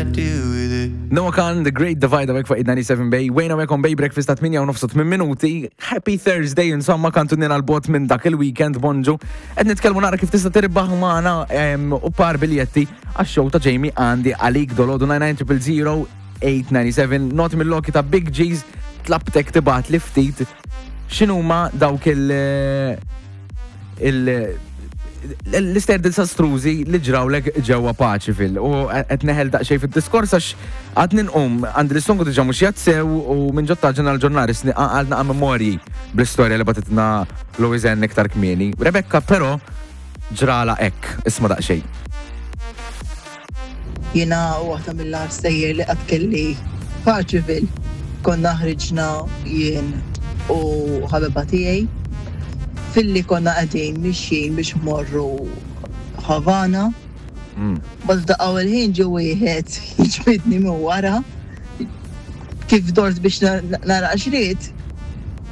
I deal with it. Noah Khan, The Great Divide għawek fuq 97 Bay, wejna għawek on Bay Breakfast ta' 8 u nofsu 8 minuti. Happy Thursday, insomma, kantunina l-bot minn dak il-weekend, bonġu. Ed nitkellmu nara kif tista' tirbaħ magħna u par biljetti għax-show ta' Jamie għandi għalik dolodu 99 897 not mill-loki ta' Big G's tlabtek tibgħat li ftit x'inhuma dawk il- il- l-istejjer disastrużi li ġrawlek ġewwa Paċifil u qed neħel daqsxejn fid-diskors għax għad ninqum għandi l-istonku diġà mhux jazzew u minn ġotta ġenna l-ġurnali għal naqa' memorji bl-istorja li batitna Louisanne iktar kmieni. Rebecca però ġrala hekk, isma' daqsxejn. Jiena waħda mill-agħar stejjer li qatt kelli f'Archiville. Konna ħriġna jien u ħabiba tiegħi filli konna qegħdin mixjin biex mmorru Havana. Mbagħad f'daqqa u l-ħin ġie wieħed jiġbidni minn wara. Kif dort biex nara x'ried,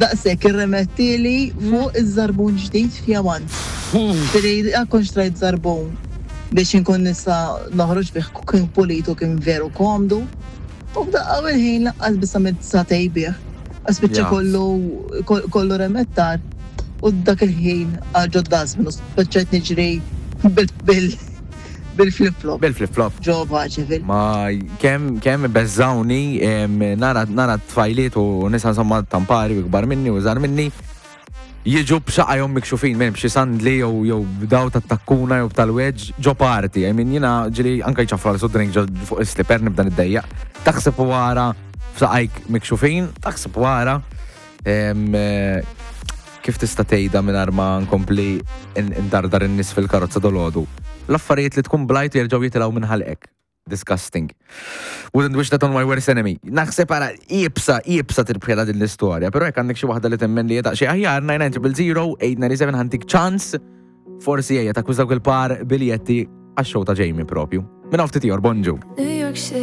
daqshekk irremettieli fuq iż-żarbun ġdid fjamant. Ġifieri jekk kont xtrajt żarbun biex inkun nista' noħroġ bih kien pulit u kien veru komdu, u f'daqqa u l-ħin lanqas biss għamilt sagħtejn bih, għax spiċċa kollu kollu remettar u dak il-ħin għal ġod-dustbin u spiċċajt niġri bil Bil-flip flop. Bil-flip flop. Ġo Paċeville. Ma kemm kemm beżżawni nara nara tfajliet u nisa insomma tampari u ikbar minni u żgħar minni jiġu b'xaqajhom mikxufin minn b'xi sandli jew jew b'daw tat-takkuna jew tal-wedge ġo party. I mean jiena ġieli anke jċafra l drink ġo fuq is-slipper nibda niddejjaq. Taħseb u ara f'saqajk mikxufin, taħseb u ara eh, Kif tista' tgħidha mingħajr ma nkompli ndardar in-nies fil-karozza dolodu? L-affarijiet li tkun blajt u jerġgħu jitilgħu minn ħalqek. Disgusting. Wouldn't wish that on my worst enemy. Naħseb ara iebsa, iebsa tirbħilha din l-istorja, però jekk għandek xi waħda li temmen li hija daqsxejn aħjar 99000 897 ħantik ċans forsi ejja takkwista dawk il-par biljetti għax-show ta' Jamie propju. Minn hawn ftit ieħor, bonġu.